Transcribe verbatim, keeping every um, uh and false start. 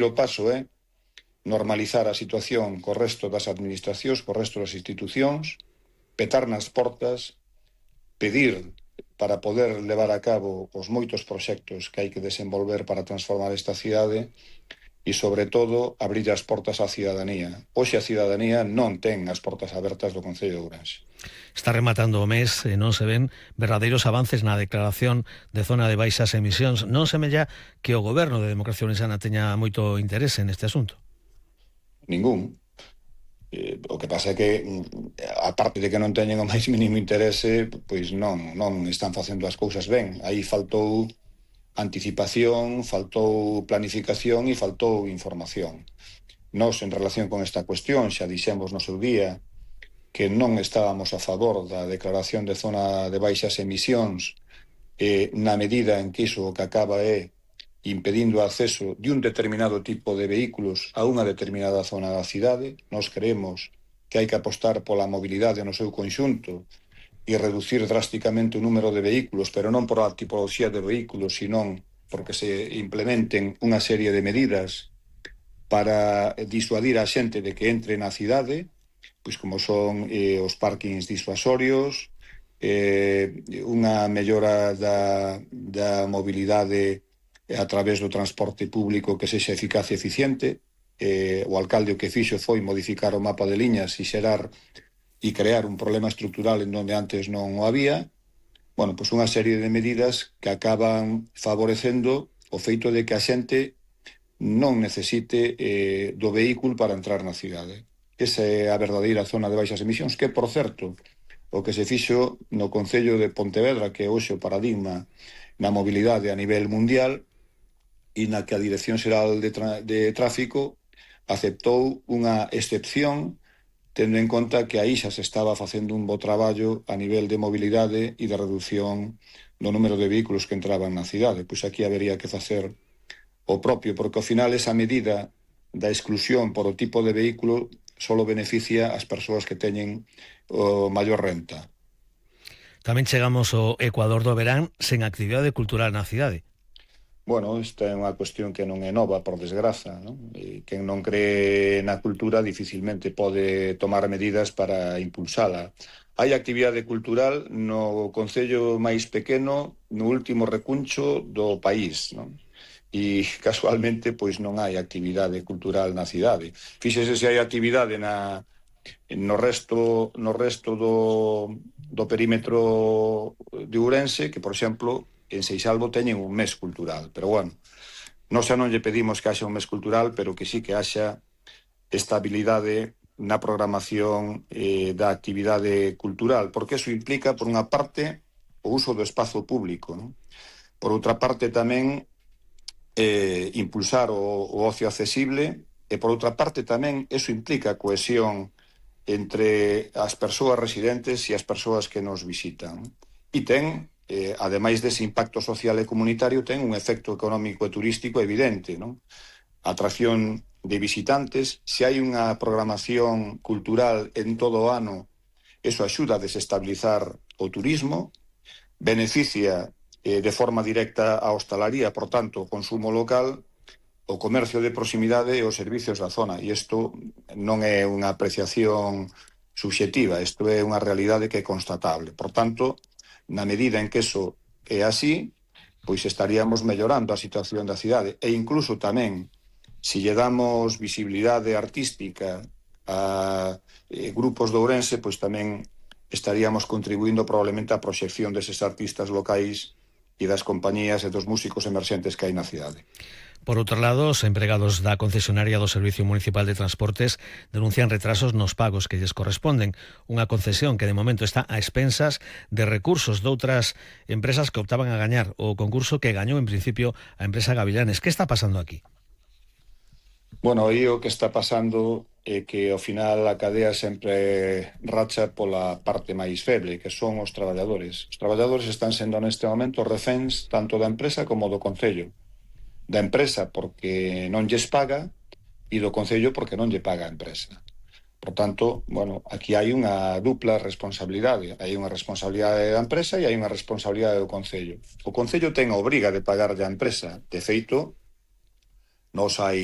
o paso é normalizar a situación co resto das administracións, co resto das institucións, petar nas portas, pedir para poder levar a cabo os moitos proxectos que hai que desenvolver para transformar esta cidade e, sobre todo, abrir as portas á cidadanía. Hoxe a cidadanía non ten as portas abertas do Concello de Ourense. Está rematando o mes e non se ven verdadeiros avances na declaración de zona de baixas emisións. Non semella que o Goberno de Democracia Ourensana teña moito interese neste asunto. Ningún. Eh, o que pasa é que, a parte de que non teñen o máis mínimo interese, pois non, non están facendo as cousas ben. Aí faltou anticipación, faltou planificación e faltou información. Nós, en relación con esta cuestión, xa dixemos no seu día que non estábamos a favor da declaración de zona de baixas emisións eh, na medida en que iso o que acaba é impedindo o acceso de un determinado tipo de vehículos a unha determinada zona da cidade. Nós creemos que hai que apostar pola mobilidade no seu conxunto e reducir drásticamente o número de vehículos, pero non por a tipoloxía de vehículos, senón porque se implementen unha serie de medidas para disuadir a xente de que entre na cidade, pois como son eh, os parkings disuasorios, eh, unha mellora da, da mobilidade a través do transporte público que sexa eficaz e eficiente. Eh, o alcalde o que fixo foi modificar o mapa de liñas e xerar e crear un problema estrutural en onde antes non o había. Bueno, pois unha serie de medidas que acaban favorecendo o feito de que a xente non necesite eh, do vehículo para entrar na cidade. Esa é a verdadeira zona de baixas emisións, que, por certo, o que se fixo no Concello de Pontevedra, que é hoxe o paradigma na mobilidade a nivel mundial, e na que a Dirección Xeral de, de Tráfico aceptou unha excepción, tendo en conta que aí xa se estaba facendo un bo traballo a nivel de mobilidade e de reducción do número de vehículos que entraban na cidade. Pois aquí habería que facer o propio, porque ao final esa medida da exclusión por o tipo de vehículo só beneficia as persoas que teñen o maior renta. Tamén chegamos ao Ecuador do verán sen actividade cultural na cidade. Bueno, esta é unha cuestión que non é nova, por desgraza, non? E quen non cree na cultura dificilmente pode tomar medidas para impulsala. Hai actividade cultural no concello máis pequeno, no último recuncho do país, non? E casualmente pois non hai actividade cultural na cidade. Fíxese se hai actividade na no resto no resto do do perímetro de Ourense, que por exemplo en Seixalbo teñen un mes cultural, pero bueno, non xa non lle pedimos que haxa un mes cultural, pero que sí que haxa estabilidade na programación eh, da actividade cultural, porque eso implica, por unha parte, o uso do espazo público, non? Por outra parte, tamén eh, impulsar o, o ocio accesible, e por outra parte tamén eso implica cohesión entre as persoas residentes e as persoas que nos visitan. E ten Eh, ademais dese impacto social e comunitario, ten un efecto económico e turístico evidente, non? Atracción de visitantes. Se hai unha programación cultural en todo o ano, eso axuda a desestabilizar o turismo, beneficia eh, de forma directa a hostalaría, por tanto, o consumo local, o comercio de proximidade e os servicios da zona. E isto non é unha apreciación subxectiva, isto é unha realidade que é constatable. Por tanto, na medida en que eso é así, pois estaríamos mellorando a situación da cidade. E incluso tamén, se lle damos visibilidade artística a eh, grupos de Ourense, pois tamén estaríamos contribuindo probablemente á proxección deses artistas locais e das compañías e dos músicos emerxentes que hai na cidade. Por outro lado, os empregados da concesionaria do Servicio Municipal de Transportes denuncian retrasos nos pagos que lles corresponden, unha concesión que de momento está a expensas de recursos doutras empresas que optaban a gañar o concurso que gañou en principio a empresa Gavilanes. Que está pasando aquí? Bueno, aí o que está pasando é que ao final a cadea sempre racha pola parte máis feble, que son os traballadores. Os traballadores están sendo neste momento reféns tanto da empresa como do concello. Da empresa porque non lles paga e do concello porque non lle paga a empresa. Por tanto, bueno, aquí hai unha dupla responsabilidade. Hai unha responsabilidade da empresa e hai unha responsabilidade do concello. O concello ten a obriga de pagar a empresa. De feito, Nos hai